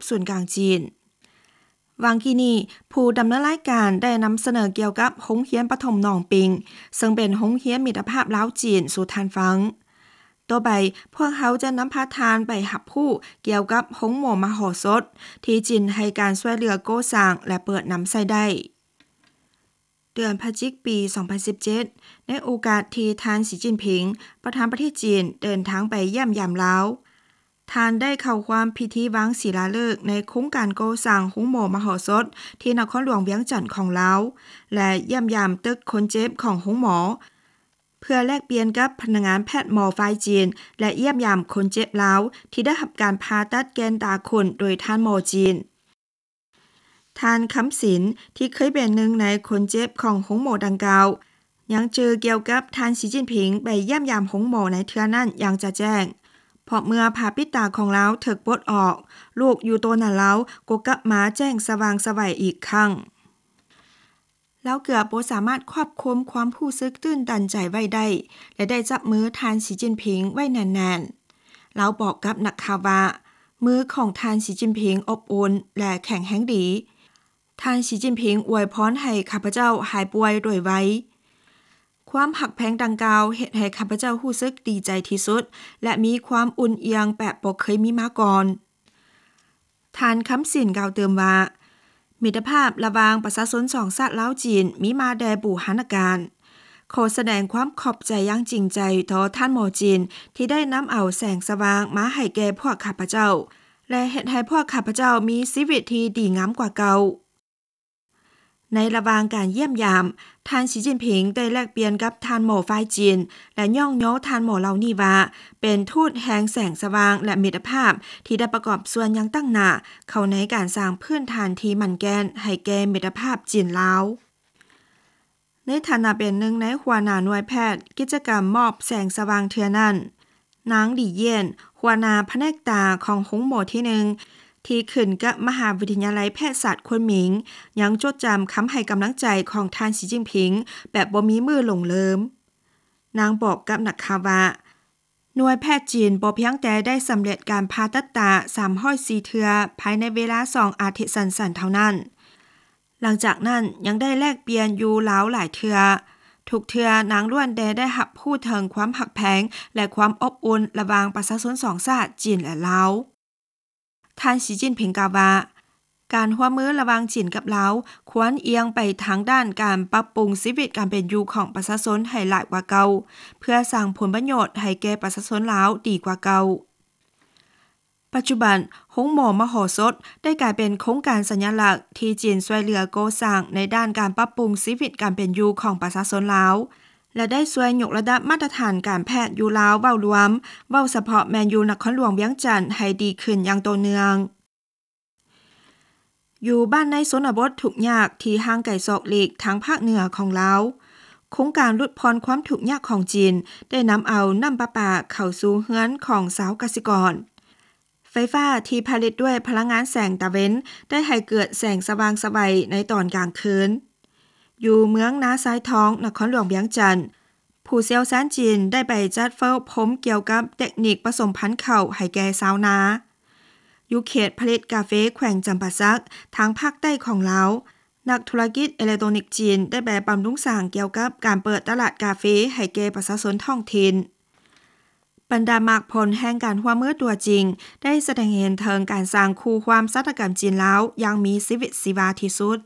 ສູນກາງຈີນ. ຫວ່າງກີ້ນີ້ ຜູ້ດຳເນີນລາຍການໄດ້ນຳສະເໜີກ່ຽວກັບໂຮງຮຽນປະຖົມໜອງປິງ ເຊິ່ງເປັນໂຮງຮຽນມິດຕະພາບລາວ-ຈີນສູ່ທ່ານຟັງ. ຕໍ່ໄປ, ພວກເຮົາຈະນຳພາທ່ານໄປຮັບຮູ້ກ່ຽວກັບໂຮງໝໍມະໂຫສົດ ທີ່ຈີນໃຫ້ການຊ່ວຍເຫຼືອກໍ່ສ້າງ ແລະ ເປີດນຳໃຊ້ໄດ້. ເດືອນພະຈິກ ປີສອງພັນສິບເຈັດ ໃນໂອກາດທີ່ທ່ານ ສີຈິ້ນຜິງ ປະທານປະເທດຈີນ ເດີນທາງໄປຢ້ຽມຢາມລາວ, ທ່ານໄດ້ເຂົ້າຮ່ວມພິທີວາງສິລາເລີກໃນໂຄງການກໍ່ສ້າງໂຮງໝໍມະໂຫສົດທີ່ນະຄອນຫຼວງວຽງຈັນຂອງລາວ ແລະ ຢ້ຽມຢາມຕຶກຄົນເຈັບຂອງໂຮງໝໍ ເພື່ອແລກປ່ຽນກັບພະນັກງານແພດໝໍຝ່າຍຈີນ ແລະ ຢ້ຽມຢາມຄົນເຈັບລາວທີ່ໄດ້ຮັບການຜ່າຕັດແກນຕາຂົນໂດຍທ່ານໝໍຈີນ. ທ່ານ ຄຳສິນ ທີ່ເຄີຍເປັນໜຶ່ງໃນຄົນເຈັບຂອງໂຮງໝໍດັ່ງກ່າວ ຍັງຈື່ກ່ຽວກັບທ່ານ ສີຈິ້ນຜິງ ໄປຢ້ຽມຢາມໂຮງໝໍໃນເທື່ອນັ້ນຢ່າງຈະແຈ້ງ, ເພາະເມື່ອຜ້າປິດຕາຂອງລາວຖືກປົດອອກ, ລູກຢູ່ໂຕໜ້າລາວກໍກັບມາແຈ້ງສະຫວ່າງສະໄຫວອີກຄັ້ງ. ລາວເກືອບບໍ່ສາມາດຄວບຄຸມຄວາມຮູ້ສຶກຕື່ນຕັນໃຈໄວ້ໄດ້ ແລະ ໄດ້ຈັບມືທ່ານ ສີຈິ້ນຜິງ ໄວ້ແໜ້ນໆ. ລາວບອກກັບນັກຂ່າວວ່າ, ມືຂອງທ່ານ ສີຈິ້ນຜິງ ອົບອຸ່ນ ແລະ ແຂງແຮງດີ. ທ່ານ ສີຈິ້ນຜິງ ອວຍພອນໃຫ້ຂ້າພະເຈົ້າຫາຍປ່ວຍໂດຍໄວ. ຄວາມຮັກແພງດັ່ງກ່າວເຮັດໃຫ້ຂ້າພະເຈົ້າຮູ້ສຶກດີໃຈທີ່ສຸດ ແລະ ມີຄວາມອຸ່ນອຽງແບບບໍ່ເຄີຍມີມາກ່ອນ. ທ່ານ ຄຳສິນ ກ່າວຕື່ມວ່າ, ມິດຕະພາບລະຫວ່າງປະຊາຊົນສອງຊາດລາວ-ຈີນມີມາແຕ່ບູຮານະການ. ຂໍສະແດງຄວາມຂອບໃຈຢ່າງຈິງໃຈຕໍ່ທ່ານໝໍຈີນ ທີ່ໄດ້ນຳເອົາແສງສະຫວ່າງມາໃຫ້ແກ່ພວກຂ້າພະເຈົ້າ ແລະ ເຮັດໃຫ້ພວກຂ້າພະເຈົ້າມີຊີວິດທີ່ດີງາມກວ່າເກົ່າ. ໃນລະຫວ່າງການຢ້ຽມຢາມ, ທ່ານ ສີຈິ້ນຜິງ ໄດ້ແລກປ່ຽນກັບທ່ານໝໍຝ່າຍຈີນ ແລະ ຍ້ອງຍໍທ່ານໝໍເຫຼົ່ານີ້ວ່າ ເປັນທູດແຫ່ງແສງສະຫວ່າງ ແລະ ມິດຕະພາບ ທີ່ໄດ້ປະກອບສ່ວນຢ່າງຕັ້ງໜ້າເຂົ້າໃນການສ້າງພື້ນຖານທີ່ໝັ້ນແກ່ນໃຫ້ແກ່ມິດຕະພາບຈີນ-ລາວ. ໃນຖານະເປັນໜຶ່ງໃນຫົວໜ້າໜ່ວຍແພດກິດຈະກຳມອບແສງສະຫວ່າງເທື່ອນັ້ນ, ນາງ ຫຼີ ຢຽນ ຫົວໜ້າພະແນກຕາຂອງໂຮງໝໍທີໜຶ່ງ ທີ່ຂຶ້ນກັບມະຫາວິທະຍາໄລແພດສາດຄວນໝິງ ຍັງຈົດຈຳຄຳໃຫ້ກຳລັງໃຈຂອງທ່ານ ສີຈິ້ນຜິງ ແບບບໍ່ມີມື້ຫຼົງເລີມ. ນາງບອກກັບນັກຂ່າວວ່າ, ໜ່ວຍແພດຈີນບໍ່ພຽງແຕ່ໄດ້ສຳເລັດການຜ່າຕັດຕາສາມຮ້ອຍສີ່ເທື່ອພາຍໃນເວລາສອງອາທິດສັ້ນໆເທົ່ານັ້ນ, ຫຼັງຈາກນັ້ນຍັງໄດ້ແລກປ່ຽນຢູ່ລາວຫຼາຍເທື່ອ. ທຸກເທື່ອນາງລ້ວນແຕ່ໄດ້ຮັບຮູ້ເຖິງຄວາມຮັກແພງ ແລະ ຄວາມອົບອຸ່ນລະຫວ່າງປະຊາຊົນສອງຊາດ ຈີນ ແລະ ລາວ. ທ່ານ ສີຈິ້ນຜິງ ກ່າວວ່າ, ການຮ່ວມມືລະຫວ່າງຈີນກັບລາວຄວນອຽງໄປທາງດ້ານການປັບປຸງຊີວິດການເປັນຢູ່ຂອງປະຊາຊົນໃຫ້ຫຼາຍກວ່າເກົ່າ, ເພື່ອສ້າງຜົນປະໂຫຍດໃຫ້ແກ່ປະຊາຊົນລາວດີກວ່າເກົ່າ. ປັດຈຸບັນ, ໂຮງໝໍມະໂຫສົດໄດ້ກາຍເປັນໂຄງການສັນຍະລັກທີ່ຈີນຊ່ວຍເຫຼືອກໍ່ສ້າງໃນດ້ານການປັບປຸງຊີວິດການເປັນຢູ່ຂອງປະຊາຊົນລາວ ແລະ ໄດ້ຊ່ວຍຍົກລະດັບມາດຕະຖານການແພດຢູ່ລາວເວົ້າລວມ, ເວົ້າສະເພາະແມ່ນຢູ່ນະຄອນຫຼວງວຽງຈັນໃຫ້ດີຂຶ້ນຢ່າງຕໍ່ເນື່ອງ. ຢູ່ບ້ານໃນຊົນນະບົດທຸກຍາກທີ່ຫ່າງໄກສອກຫຼີກທາງພາກເໜືອຂອງລາວ, ໂຄງການຫຼຸດຜ່ອນຄວາມທຸກຍາກຂອງຈີນໄດ້ນຳເອົານ້ຳປະປາເຂົ້າສູ່ເຮືອນຂອງຊາວກະສິກອນ. ໄຟຟ້າທີ່ຜະລິດດ້ວຍພະລັງງານແສງຕາເວັນໄດ້ໃຫ້ເກີດແສງສະຫວ່າງສະໄຫວໃນຕອນກາງຄືນ. ຢູ່ເມືອງນາຊາຍທອງ, ນະຄອນຫຼວງວຽງຈັນ, ຜູ້ຊ່ຽວຊານຈີນໄດ້ໄປຈັດເຝົ້າພົມກ່ຽວກັບເຕັກນິກປະສົມພັນເຂົ້າໃຫ້ແກ່ຊາວນາ. ຢູ່ເຂດຜະລິດກາເຟແຂວງຈຳປາສັກ, ທາງພາກໃຕ້ຂອງລາວ, ນັກທຸລະກິດເອເລັກໂຕຣນິກຈີນໄດ້ໄປບຳລຸງສ້າງກ່ຽວກັບການເປີດຕະຫຼາດກາເຟໃຫ້ແກ່ປະຊາຊົນທ້ອງຖິ່ນ. ບັນດາໝາກຜົນແຫ່ງການຮ່ວມມືຕົວຈິງໄດ້ສະແດງໃຫ້ເຫັນເຖິງການສ້າງຄູ່ຄວາມຊາຕາກຳຈີນ-ລາວຢ່າງມີຊີວິດຊີວາທີ່ສຸດ.